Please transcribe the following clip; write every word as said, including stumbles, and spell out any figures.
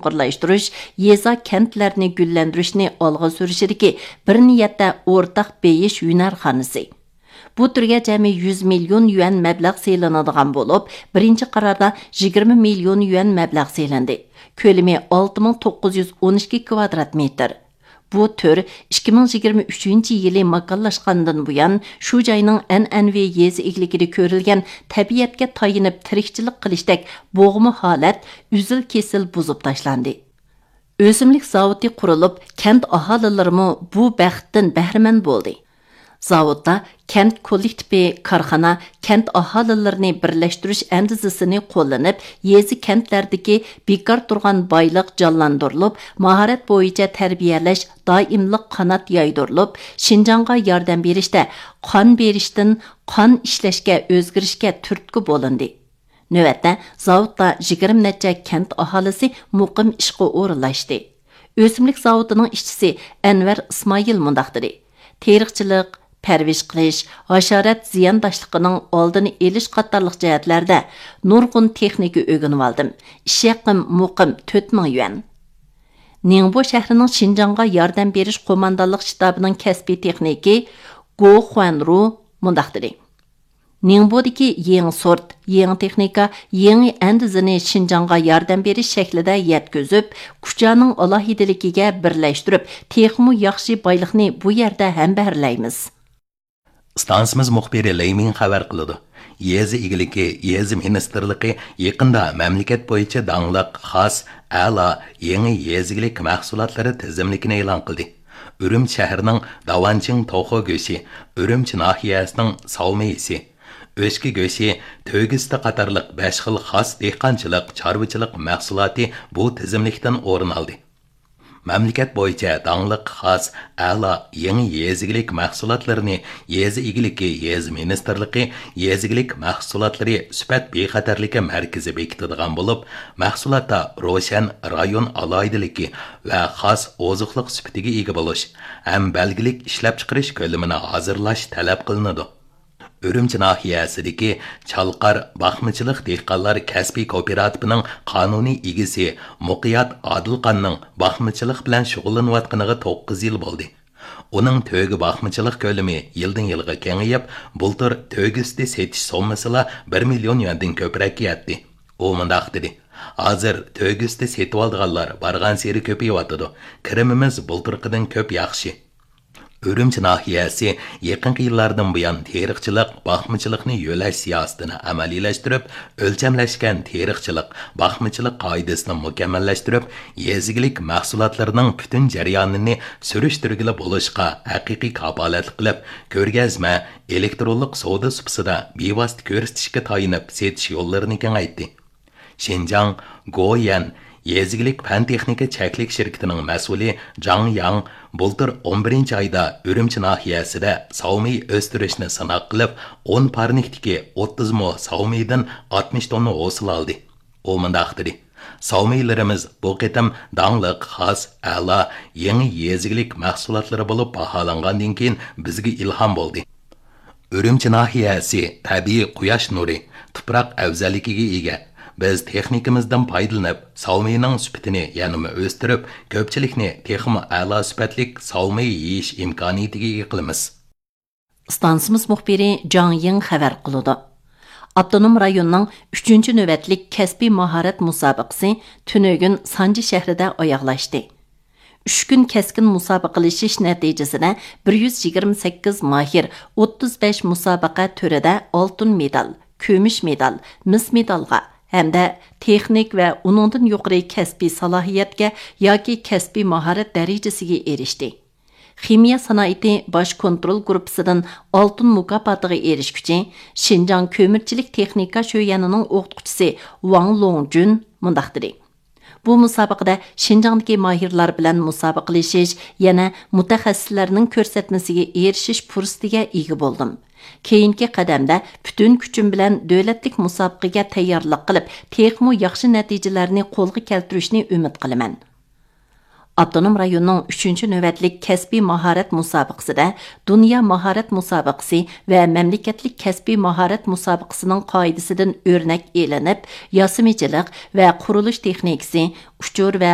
بىرلەشتۈرۈش، يېزا، كەنتلەرنى گۈللەندۈرۈشنى ئالغا سۈرۈشىدىكى بىر نىيەتتە ئورتاق بېيىش ھۈنەرخانىسى. بۇ تۈرگە جەمئىي يۈز مىليون يۈەن مەبلەغ سېلىنىدىغان بولۇپ، بىرىنچى قاراردا يىگىرمە مىليون يۈەن مەبلەغ سېلىندى. كۆلىمى ئالتە مىڭ توققۇز يۈز ئون ئىككى كۋادرات مېتىر. بۇ تۈر ئىككى مىڭ يىگىرمە ئۈچىنچى يىلى ماكانلاشقاندىن بۇيان، شۇ جاينىڭ ئەنئەنىۋى يېزا ئىگىلىكىدە كۆرۈلگەن تەبىئەتكە تايىنىپ تىرىكچىلىك قىلىشتەك بوغما ھالەت ئۈزۈل-كېسىل بۇزۇپ تاشلاندى. ئۆسۈملۈك زاۋۇتى قۇرۇلۇپ، كەنت ئاھالىلىرىمۇ بۇ بەختتىن بەھرىمەن بولدى. زاۋۇتتا كەنت كوللېكتىپى، كارخانا، كەنت ئاھالىلىرىنى بىرلەشتۈرۈش ئەندىزىسىنى قوللىنىپ، يېزا، كەنتلەردىكى بىكار تۇرغان بايلىق جانلاندۇرۇلۇپ، ماھارەت بويىچە تەربىيەلەش دائىملىق قانات يايدۇرۇلۇپ، شىنجاڭغا ياردەم بېرىشتە قان بېرىشتىن قان ئىشلەشكە ئۆزگىرىشكە تۈرتكە بولۇندى. نۆۋەتتە زاۋۇتتا يىگىرمە نەچچە كەنت ئاھالىسى مۇقىم ئىشقا ئورۇنلاشتى. ئۆسۈملۈك زاۋۇتىنىڭ ئىشچىسى ئەنۋەر ئىسمائىل مۇنداق دېدى: تېرىقچىلىق، پەرۋىش قىلىش، ھاشارات زىيانداشلىقىنىڭ ئالدىنى ئېلىش قاتارلىق جەھەتلەردە نۇرغۇن تېخنىكا ئۆگىنىۋالدىم. ئىش ھەققىم مۇقىم تۆت مىڭ يۈەن. نىڭبو شەھىرىنىڭ شىنجاڭغا ياردەم بېرىش قوماندانلىق شتابىنىڭ كەسپىي تېخنىكى گو خۇەنرۇ مۇنداق دېدى: نىڭبودىكى يېڭى سورت، يېڭى تېخنىكا، يېڭى ئەندىزىنى شىنجاڭغا ياردەم بېرىش شەكلىدە يەتكۈزۈپ، كۇچانىڭ ئالاھىدىلىكىگە بىرلەشتۈرۈپ، تېخىمۇ ياخشى بايلىقنى بۇ يەردە ھەمبەھىرلەيمىز. ئىستانسىمىز مۇخبىرى لېي مىڭ خەۋەر قىلىدۇ. يېزا ئىگىلىكى، يېزا مىنىستىرلىقى يېقىندا مەملىكەت بويىچە داڭلىق، خاس، ئەلا، يېڭى يېزا ئىگىلىك مەھسۇلاتلىرى تىزىملىكىنى ئېلان قىلدى. ئۈرۈمچى شەھىرىنىڭ داۋانچىڭ توخۇ گۆشى، ئۈرۈمچى ناھىيەسىنىڭ ساۋمېيىسى، ئۆچكە گۆشى، تۆگە سۈتى قاتارلىق بەش خىل خاس دېھقانچىلىق، چارۋىچىلىق مەھسۇلاتى بۇ تىزىملىكتىن ئورۇن ئالدى. مەملىكەت بويىچە داڭلىق خاس، ئەلا، يېڭى يېزا ئىگىلىك مەھسۇلاتلىرىنى يېزا ئىگىلىكى، يېزا مىنىستىرلىقى يېزا ئىگىلىك مەھسۇلاتلىرى سۈپەت بىخەتەرلىكى مەركىزى بېكىتىدىغان بولۇپ، مەھسۇلاتتا روشەن رايون ئالاھىدىلىكى ۋە خاس ئوزۇقلۇق سۈپىتىگە ئىگە بولۇش ھەم بەلگىلىك ئىشلەپچىقىرىش كۆلىمىنى ھازىرلاش تەلەپ قىلىنىدۇ. ئۈرۈمچى ناھىيەسىدىكى چالقار باقمىچىلىق دېھقانلار كەسپىي كوپىراتىپىنىڭ قانۇنىي ئىگىسى مۇقىيات ئادىلخاننىڭ باقمىچىلىق بىلەن شۇغۇللىنىۋاتقىنىغا توققۇز يىل بولدى. ئۇنىڭ تۆگە باقمىچىلىق كۆلىمى يىلدىن يىلغا كېڭىيىپ، بۇلتۇر تۆگە سۈتى سېتىش سوممىسىلا بىر مىليون يۈەندىن كۆپرەككە يەتتى. ئۇ مۇنداق دېدى: ھازىر تۆگە سۈتى سېتىۋالىدىغانلار بارغانسېرى كۆپىيىۋاتىدۇ. كىرىمىمىز بۇلتۇرقىدىن كۆپ ياخشى. ئۈرۈمچى ناھىيەسى يېقىنقى يىللاردىن بۇيان تېرىقچىلىق، باقمىچىلىقنى يۆلەش سىياسىتىنى ئەمەلىيلەشتۈرۈپ، ئۆلچەملەشكەن تېرىقچىلىق، باقمىچىلىق قائىدىسىنى مۇكەممەللەشتۈرۈپ، يېزا ئىگىلىك مەھسۇلاتلىرىنىڭ پۈتۈن جەريانىنى سۈرۈشتۈرگىلى بولۇشقا ھەقىقىي كاپالەتلىك قىلىپ، كۆرگەزمە، ئېلېكترونلۇق سودا سۇپىسىدا بىۋاسىتە كۆرسىتىشكە تايىنىپ سېتىش يوللىرىنى كېڭەيتتى. شىنجاڭ گويەن يېزا ئىگىلىك پەن تېخنىكا چەكلىك شىركىتىنىڭ مەسئۇلى جاڭ ياڭ بۇلتۇر ئون بىرىنچى ئايدا ئۈرۈمچى ناھىيەسىدە ساۋمىي ئۆستۈرۈشنى سىناق قىلىپ، ئون پارنىكتىكى ئوتتۇز مو ساۋمىيدىن ئاتمىش توننا ھوسۇل ئالدى. ئۇ مۇنداق دېدى: ساۋمىيلىرىمىز بۇ قېتىم داڭلىق، خاس، ئەلا، يېڭى يېزا ئىگىلىك مەھسۇلاتلىرى بولۇپ باھالانغاندىن كېيىن بىزگە ئىلھام بولدى. ئۈرۈمچى ناھىيەسى تەبىئىي قۇياش نۇرى، تۇپراق ئەۋزەللىكىگە ئىگە. بىز تېخنىكىمىزدىن پايدىلىنىپ، ساۋمىينىڭ سۈپىتىنى يەنىمۇ ئۆستۈرۈپ، كۆپچىلىكنى تېخىمۇ ئەلا سۈپەتلىك ساۋمىي يېيىش ئىمكانىيىتىگە ئىگە قىلىمىز. ئىستانسىمىز مۇخبىرى جاڭ يىڭ خەۋەر قىلىدۇ. ئاپتونوم رايوننىڭ ئۈچىنچى نۆۋەتلىك كەسپىي ماھارەت مۇسابىقىسى تۈنۈگۈن سانجى شەھىرىدە ئاياغلاشتى. ئۈچ كۈن كەسكىن مۇسابىقىلىشىش نەتىجىسىدە بىر يۈز يىگىرمە سەككىز ماھىر ئوتتۇز بەش مۇسابىقە تۈرىدە ئالتۇن مېدال، كۈمۈش مېدال، مىس مېدالغا ھەمدە تېخنىك ۋە ئۇنىڭدىن يۇقىرى كەسپىي سالاھىيەتكە ياكى كەسپىي ماھارەت دەرىجىسىگە ئېرىشتى. خىمىيە سانائىتى باش كونترول گۇرۇپپىسىدىن ئالتۇن مۇكاپاتىغا ئېرىشكۈچى، شىنجاڭ كۆمۈرچىلىك تېخنىكا شۆيۈەنىنىڭ ئوقۇتقۇچىسى ۋاڭ لوڭجۈن مۇنداق دېدى: بۇ مۇسابىقىدە شىنجاڭدىكى ماھىرلار بىلەن مۇسابىقىلىشىش، يەنە مۇتەخەسسىسلەرنىڭ كۆرسەتمىسىگە ئېرىشىش پۇرسىتىگە ئىگە بولدۇم. كېيىنكى قەدەمدە پۈتۈن كۈچۈم بىلەن دۆلەتلىك مۇسابىقىگە تەييارلىق قىلىپ، تېخىمۇ ياخشى نەتىجىلەرنى قولغا كەلتۈرۈشنى ئۈمىد قىلىمەن. ئاپتونوم رايوننىڭ ئۈچىنچى نۆۋەتلىك كەسپىي ماھارەت مۇسابىقىسىدە دۇنيا ماھارەت مۇسابىقىسى ۋە مەملىكەتلىك كەسپىي ماھارەت مۇسابىقىسىنىڭ قائىدىسىدىن ئۆرنەك ئېلىنىپ، ياسىمىچىلىق ۋە قۇرۇلۇش تېخنىكىسى، ئۇچۇر ۋە